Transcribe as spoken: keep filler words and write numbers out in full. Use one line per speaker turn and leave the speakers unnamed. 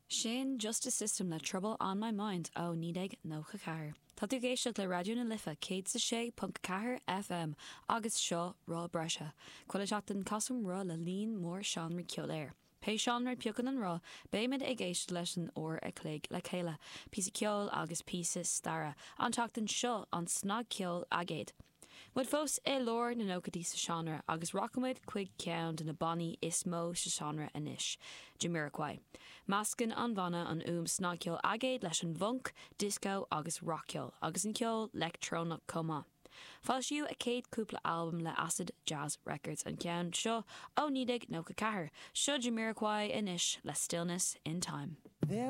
Sin Just a System le Trouble on My Mind ó naoi déag nócha ceathair. Tá tú ag éisteacht le Raidió na Life céad a sé ponc ceathair FM agus seo Roth Breise. Chuile sheachtain casaim roth le líon mór seánraí ceoil air. Pé seánra a phiocann an roth, beimid ag éisteacht leis an uair a chloig le chéile, píosa ceoil agus píosa staire, an tseachtain seo an snagcheol aigéid. Muid fós i lár na nóchaidí sa seánra agus rachaimid chuig ceann de na bannaí is mó sa seánra anois, Jamiroquai. Meascann an banna an fhuaim snagcheol aigéid leis an bhfunc, disco agus rac-cheol, agus an ceol leictreonach chomh maith. Foilsíodh a céad cúpla albam le Acid Jazz Records an ceann seo ó naoi déag nócha ceathair, seo Jamiroquai anois le Stillness in Time.
There's